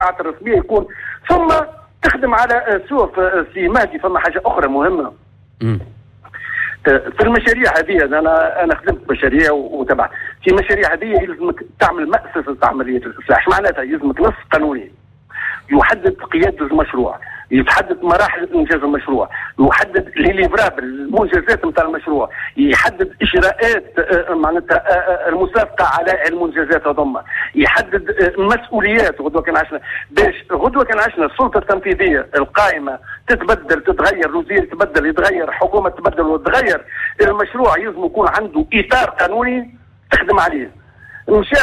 الرسمية يكون، ثم تخدم على سوف سي مهدي. فما حاجة اخرى مهمة في المشاريع هذه، انا خدمت مشاريع وتبعت في مشاريع هذه، يلزمك تعمل مأسسة عملية الاصلاح. معناتها يلزمك نص قانوني يحدد قيادة المشروع، يحدد مراحل انجاز المشروع، يحدد les livrables، المنجزات نتاع المشروع، يحدد اجراءات معناتها المسابقة على المنجزات هذوما، يحدد مسؤوليات. غدوه كان عشنا باش غدوه كان عشنا السلطة التنفيذية القائمة تتبدل تتغير، وزير يتبدل يتغير، حكومة تتبدل وتتغير، المشروع يلزم يكون عنده اطار قانوني تخدم عليه. مشى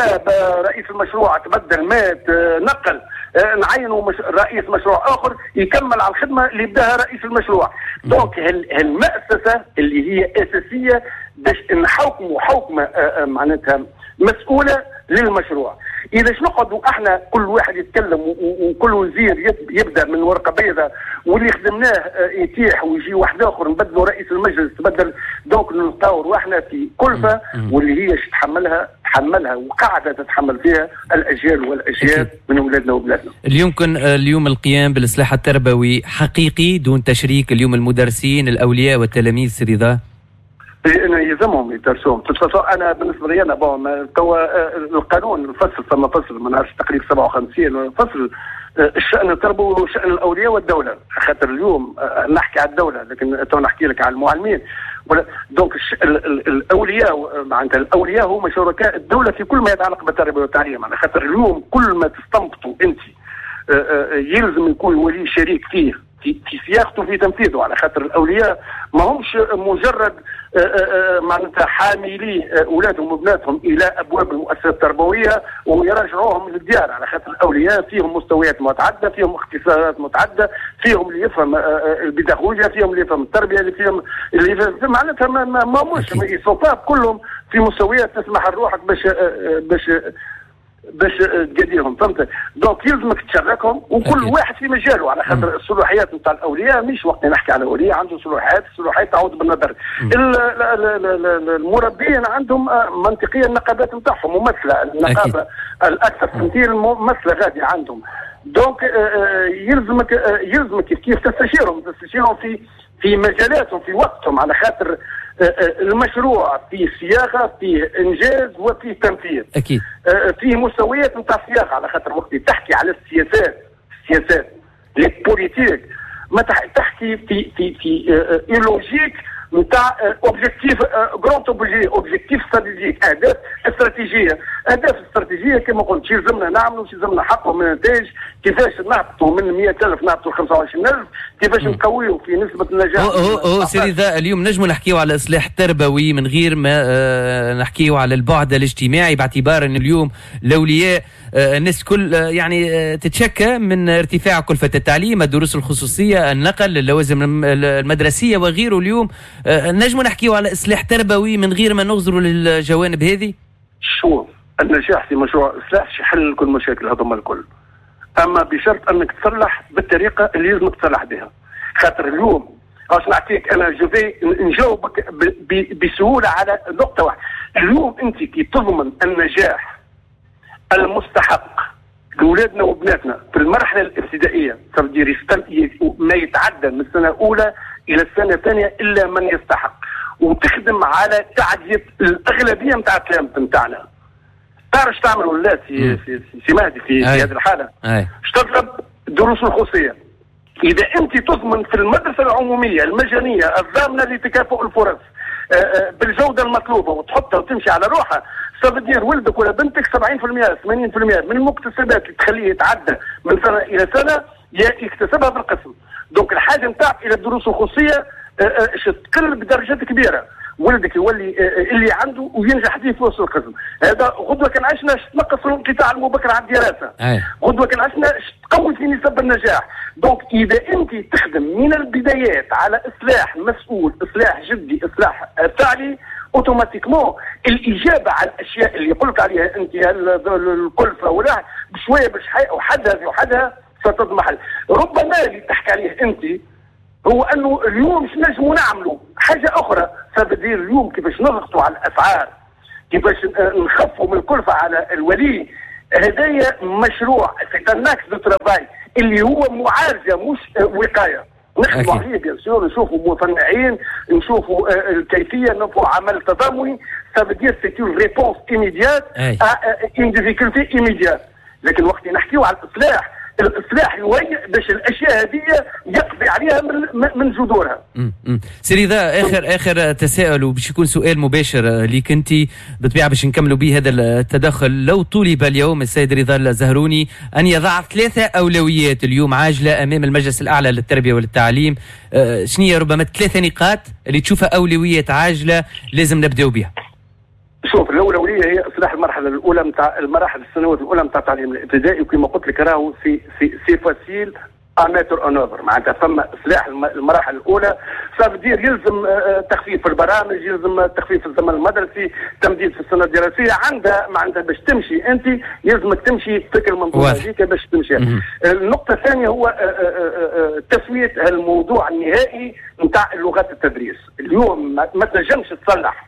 رئيس المشروع، تبدل، مات، نقل، نعينوا رئيس مشروع اخر يكمل على الخدمة اللي بداها رئيس المشروع. donc المأسسه اللي هي اساسية باش نحوكموا حوكمة معناتها مسؤولة للمشروع. اذا نقعدوا احنا كل واحد يتكلم وكل وزير يبدا من ورقة بيضاء واللي خدمناه يتيح ويجي واحد اخر، نبدلوا رئيس المجلس تبدل، donc نلقاو رواحنا في كلفه واللي هي تحملها تحملها وقاعدة تتحمل فيها الاجيال والاجيال من اولادنا وبلادنا. اليوم كن اليوم القيام بالاصلاح التربوي حقيقي دون تشريك اليوم المدرسين، الاولياء والتلاميذ، سي رضا؟ يلزمهم يدرسوهم. انا بالنسبة لي انا bon توا القانون الفصل، ثم فصل ما نعرفش تقريبا 57 فصل الشان التربوي وشان الاولياء والدوله، خاطر اليوم نحكي على الدولة لكن تو نحكي لك على المعلمين. donc الاولياء معناتها الاولياء هم شركاء الدولة في كل ما يتعلق بالتربية والتعليم، على خاطر اليوم كل ما تستنبطوا انت يلزم يكون الولي شريك فيه في سياقته في تنفيذه، على خاطر الاولياء ما همش مجرد معناتها حاملي اولادهم وبناتهم الى ابواب المؤسسات التربوية ويرجعوهم للديار، على خاطر الاولياء فيهم مستويات متعددة، فيهم اختصاصات متعددة، فيهم اللي يفهم البيداغوجيا، فيهم اللي يفهم التربية، اللي فيهم اللي يفهم معناتها ما مش كلهم في مستويات تسمح لروحك باش تقديهم، فهمت؟ donc يلزمك تشاركهم وكل واحد في مجاله، على خاطر الصلاحيات نتاع الاولياء مش وقت نحكي على الاولياء عنده صلاحيات، الصلاحيات تعود بالنظر. المربيين عندهم منطقيا النقابات نتاعهم ممثله، النقابة الاكثر تمثيل ممثلة غادي عندهم. donc يلزمك كيف تستشيرهم في مجالاتهم في وقتهم، على خاطر المشروع فيه صياغة، فيه انجاز، وفيه تنفيذ. اكيد. فيه مستويات نتاع صياغة، على خاطر وقت تحكي على السياسات les politiques ما تحكي في logique نتاع objectif، grands objectifs stratégiques، اهداف استراتيجيه. اهداف استراتيجية كما قلت، شو يلزمنا نعملوا، شو يلزمنا نحققوا من نتائج، كيفاش نهبطوا من 100,000 نهبطوا 25,000، كيفاش نقويوا في نسبه النجاح. هو هو سي رضا، اليوم نجموا نحكيو على الاصلاح التربوي من غير ما نحكيو على البعد الاجتماعي، باعتبار ان اليوم الاولياء الناس كل يعني تتشكى من ارتفاع كلفه التعليم، الدروس الخصوصيه، النقل، اللوازم المدرسية وغيره. اليوم نجموا نحكيو على اصلاح تربوي من غير ما نغزروا للجوانب هذه؟ شوف، النجاح في مشروع اصلاح يحل كل المشاكل هذوما الكل، اما بشرط انك تصلح بالطريقة اللي لازمك تصلح بها. خاطر اليوم باش نعطيك انا je vais نجاوبك بسهولة على نقطة واحدة. اليوم انت كي تضمن النجاح المستحق لاولادنا وبناتنا في المرحلة الابتدائيه، تقدر ما يتعدى من السنة الاولى الى السنة الثانية الا من يستحق، وتخدم على تعديه الاغلبية نتاع التلامذه نتاعنا. تعرف تعمل ولا سي مهدي في هذه الحالة؟ تضرب دروس الخصوصية. اذا انت تضمن في المدرسة العمومية المجانية الضامنه لتكافؤ الفرص بالجودة المطلوبة وتحطها وتمشي على روحها، ça veut dire ولدك ولا بنتك 70% 80% من المكتسبات اللي تخليه يتعدى من سنة الى سنة يكتسبها في القسم. donc الحاجة نتاعك الى الدروس الخصوصية تقل بدرجات كبيره، ولدك يولي اللي عنده وينجح فيه في وسط القسم. هذا غدوه كان عشنا تنقص الانقطاع المبكر على الدراسه، غدوه كان عشنا تقوي في نسب النجاح. donc اذا انت تخدم من البدايات على اصلاح مسؤول، اصلاح جدي، اصلاح فعلي، automatiquement الاجابة على الاشياء اللي قلت عليها انت، الكلفة ولا بشوية باش وحدها وحدها ستضمحل. ربما اللي تحكي عليه انت هو انه اليوم مش نجموا نعملوا حاجة اخرى، ça veut dire اليوم كيفاش نضغطوا على الاسعار، كيفاش نخفوا من الكلفة على الولي. هذايا مشروع c'est un axe de travail اللي هو معالجة مش وقاية. نخدموا عليه bien sûr، نشوفوا مصنعين، نشوفوا الكيفيه، نشوفوا عمل تضامني. ça veut dire c'est une réponse immédiate à une difficulté immédiate. لكن وقت نحكيو على الاصلاح، الاصلاح يهيئ باش الاشياء هذه يقضي عليها من جذورها. سي رضا، اخر تساؤل وباش يكون سؤال مباشر ليك انت بالطبيعة باش نكملوا به هذا التدخل. لو طلب اليوم السيد رضا الزهروني ان يضع 3 اولويات اليوم عاجله امام المجلس الاعلى للتربية والتعليم، شنو ربما 3 نقاط اللي تشوفها اولويات عاجله لازم نبداو بها؟ شوف، الاولوية هي اصلاح المرحلة الاولى نتاع المراحل السنوات الاولى نتاع التعليم الابتدائي، وكما قلت لك راهو c'est facile à mettre en œuvre. معناتها فما اصلاح المراحل الاولى، ça veut dire يلزم تخفيف في البرامج، يلزم تخفيف في الزمن المدرسي، تمديد في السنة الدراسية. عندها معناتها باش تمشي انت يلزمك تمشي فكر المنظومة هذيك باش تمشي. النقطة الثانية هو تسويه الموضوع النهائي نتاع لغات التدريس. اليوم ما تنجمش تصلح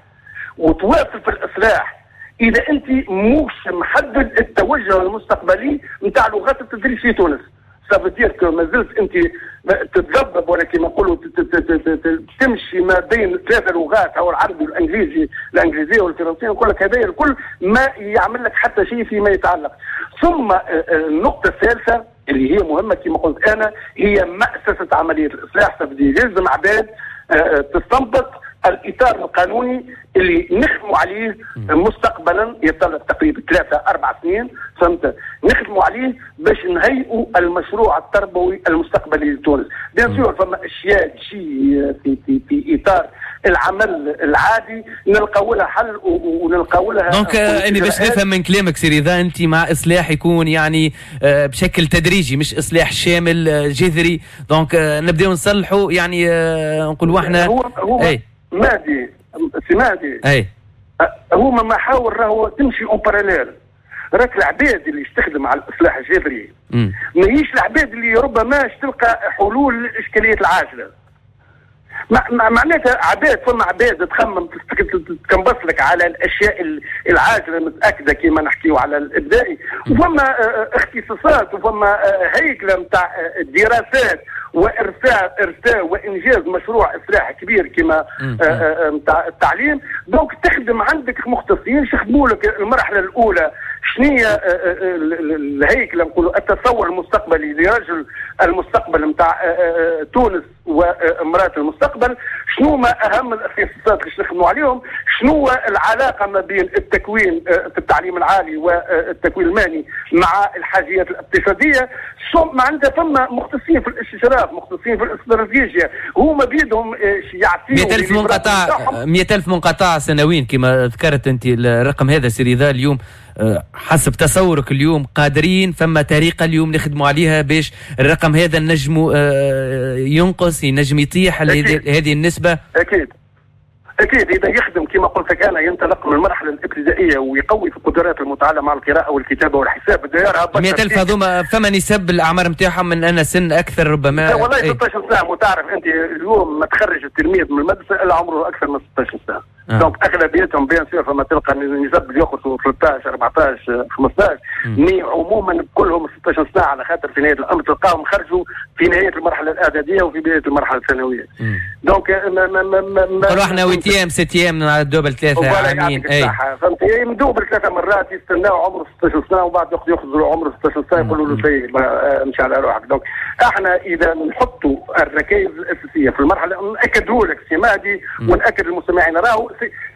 وتواصل في الاصلاح اذا انت مش محدد التوجه المستقبلي نتاع لغات التدريس في تونس. ça veut dire que ما زلت انت تتذبذب، ولا كما نقولوا تمشي ما بين 3 لغات، او العربي والانجليزي، الانجليزية والفرنسيه. نقول لك هذا الكل ما يعمل لك حتى شيء فيما يتعلق. ثم النقطة الثالثة اللي هي مهمة كما قلت انا، هي مأسسه عملية الاصلاح. ça veut dire يلزم عباد تستنبط الاطار القانوني اللي نخدموا عليه مستقبلا، يتطلب تقريبا 3-4 سنين، فهمت؟ نخدموا عليه باش نهيئوا المشروع التربوي المستقبلي لتونس. bien sûr فما اشياء تجي في اطار العمل العادي نلقاو لها حل ونلقاو لها. donc اني باش نفهم من كلامك سي رضا، انت مع اصلاح يكون يعني بشكل تدريجي، مش اصلاح شامل جذري. donc نبداو نصلحوا يعني نقولوا احنا هو اي مهدي، سي مهدي، اي هما محاور راهو تمشي en parallèle. راك العباد اللي يستخدم على الاصلاح الجذري ماهيش العباد اللي ربما تلقى حلول للاشكاليات العاجلة. معناتها عباد، فما عباد تخمم تكنبص لك على الاشياء العاجلة متاكدة كما نحكيو على الابداعي، وفما اختصاصات وفما هيكله نتاع دراسات وارساء وانجاز مشروع اصلاح كبير كما نتاع التعليم. donc تخدم عندك مختصين يخدموا لك المرحلة الاولى شنية الهيكله، نقولوا التصور المستقبلي لرجل المستقبل نتاع تونس وامراة المستقبل، شنو ما اهم الاختصاصات اللي نخدموا عليهم، شنو العلاقة ما بين التكوين في التعليم العالي والتكوين المهني مع الحاجيات الاقتصادية. معناتها فما مختصين في الاستشراف، مختصين في الاستراتيجية، هما بيدهم يعطيو 100000 منقطع، 100000 منقطع سنويا كما ذكرت انت الرقم هذا سي رضا. اليوم حسب تصورك اليوم قادرين، فما طريقه اليوم نخدموا عليها باش الرقم هذا نجموا ينقص، ينجم يطيح هذه النسبة؟ اكيد اكيد، اذا يخدم كما قلت لك انا ينطلق من المرحلة الابتدائية ويقوي في قدرات المتعلم على القراءة والكتابة والحساب. 100000 هذوما فما نسب الاعمار نتاعهم من انا سن اكثر ربما؟ والله 16 سنة، وتعرف انت اليوم ما تخرج التلميذ من المدرسة الا عمره اكثر من 16 سنة. donc اغلبيتهم bien sûr فما تلقى نسب اللي يخرجوا 13 14 15، mais عموما كلهم 16 سنة، على خاطر في نهاية الامر تلقاهم خرجوا في نهاية المرحلة الاعدادية وفي بداية المرحلة الثانوية. donc ما نقولوا احنا huitième septième double 3 عامين. اي فهمت، مدوبل 3 مرات يستناو عمره 16 سنة وبعد ياخذوا عمره 16 سنة يقولوا له سي امشي على روحك. donc احنا اذا نحطوا الركائز الاساسية في المرحلة، ناكدوا لك سي مهدي وناكد للمستمعين راهو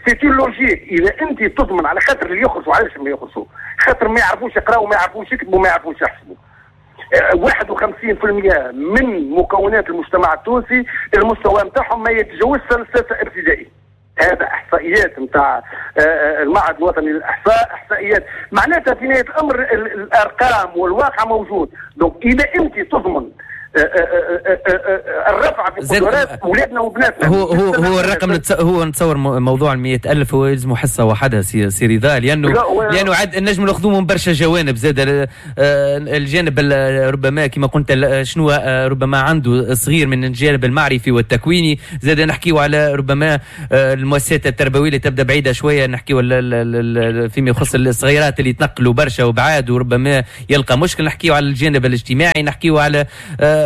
c'est une logique. اذا انت تضمن، على خاطر اللي يخرجوا علاش ما يخرجوا؟ خاطر ما يعرفوش يقراوا، ما يعرفوش يكتبوا، ما يعرفوش يحسبوا. 51% من مكونات المجتمع التونسي المستوى نتاعهم ما يتجاوزش سنة 6 ابتدائي. هذا احصائيات نتاع المعهد الوطني للاحصاء، احصائيات معناتها في نهاية الامر الارقام والواقع موجود. donc اذا انت تضمن الرفع بقدرات اولادنا وبناتنا. هو الرقم هو نتصور موضوع 100,000 هو يلزمه حصة وحدها سي رضا، لانه عاد النجم ناخذوه من برشا جوانب زاد، الجانب ربما كما قلت شنو ربما عنده صغير من الجانب المعرفي والتكويني، زاد نحكيو على ربما المؤسسات التربوية اللي تبدا بعيدة شوية، نحكيو فيما يخص الصغيرات اللي يتنقلوا برشا وبعاد وربما يلقى مشكل، نحكيو على الجانب الاجتماعي، نحكيو على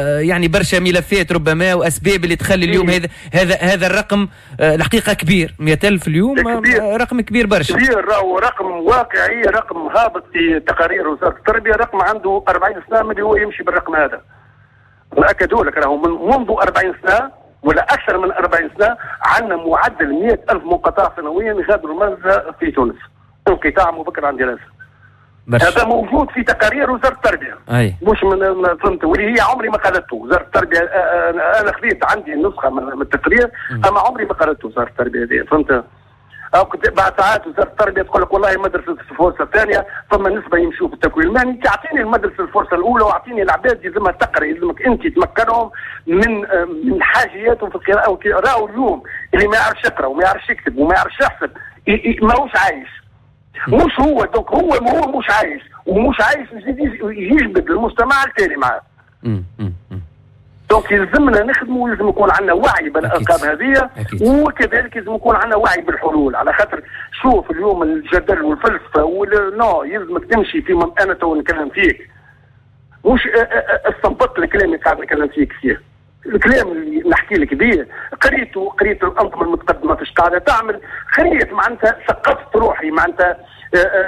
يعني برشا ملفات ربما واسباب اللي تخلي اليوم هذا الرقم الحقيقة كبير. 100,000 اليوم كبير. رقم كبير برشا، كبير، راهو رقم واقعي، رقم هابط في تقارير وزارة التربية، رقم عنده 40 سنة من اللي هو يمشي بالرقم هذا. نأكدوا لك راهو منذ 40 سنة ولا اكثر من 40 سنة عندنا معدل 100,000 منقطع سنويا يغادروا المدرسة في تونس، انقطاع مبكر عن دراسة. هذا موجود في تقارير وزارة التربية. أي. مش من فهمت، واللي هي عمري ما قالته وزارة التربية. انا خذيت عندي نسخه من التقرير، اما عمري ما قالته وزارة التربية هذه، فهمت؟ او بعد ساعات وزارة التربية تقول لك والله مدرسه الفرصة الثانية فما نسبه يمشوا في التكوين المهني. تعطيني المدرسة الفرصة الاولى واعطيني العباد يلزمها تقرا، يلزمك انت تمكنهم من حاجياتهم في القراءة. راهو اليوم اللي ما يعرفش يقرا وما يعرفش يكتب وما يعرفش يحسب ماهوش عايش. مش هو donc هو مش عايش، ومش عايش يجبد المجتمع التالي معاه. donc يلزمنا نخدموا، ويلزم يكون عندنا وعي بالارقام هذه، وكذلك يلزم يكون عندنا وعي بالحلول. على خاطر شوف اليوم الجدل والفلسفة non، يلزمك تمشي في انا تو نكلم فيك، مش استنبطت الكلام اللي قاعد نكلم فيك فيه. الكلام اللي نحكي لك به قريته، قريت الانظمة المتقدمة فاش قاعدة تعمل، قريت معناتها ثقفت روحي، معناتها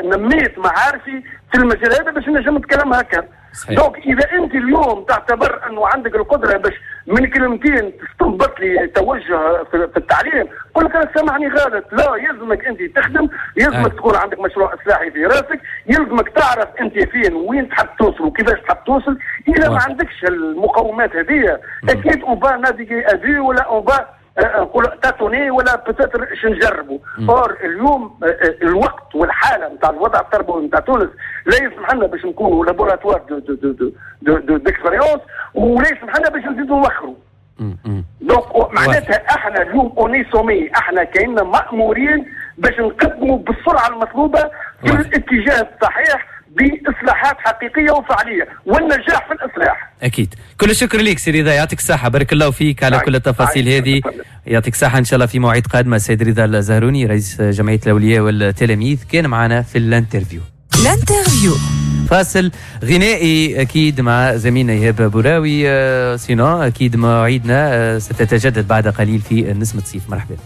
نميت معارفي في المجال هذا باش نجم نتكلم هكا. donc اذا انت اليوم تعتبر انه عندك القدرة باش من كلمتين تستنبط لي توجه في التعليم، قول لك انا سامحني غلط. لا، يلزمك انت تخدم، يلزمك تكون عندك مشروع اصلاحي في راسك، يلزمك تعرف انت فين وين تحب توصل وكيفاش تحب توصل. اذا ما عندكش المقومات هذه اكيد on va naviguer à vue ولا on va نقول tâtonner ولا peut-être نجربوا. or اليوم الوقت والحالة نتاع الوضع التربوي نتاع تونس لا يسمح لنا باش نكونوا laboratoire de de de de de d'expériences، ولا يسمح لنا باش نزيدوا نوخروا. donc معناتها احنا اليوم on est sommés، احنا كايننا مامورين باش نقدموا بالسرعة المطلوبة في الاتجاه الصحيح باصلاحات حقيقية وفعليه والنجاح في الاصلاح. اكيد. كل الشكر لك سي رضا، يعطيك الصحة، بارك الله فيك على كل التفاصيل هذه، يعطيك الصحة. ان شاء الله في مواعيد قادمة. السيد رضا الزهروني رئيس جمعية الاولياء والتلاميذ كان معنا في l'interview. l'interview فاصل غنائي اكيد مع زميلنا ايهاب بوراوي، sinon اكيد مواعيدنا ستتجدد بعد قليل في نسمه صيف. مرحبا.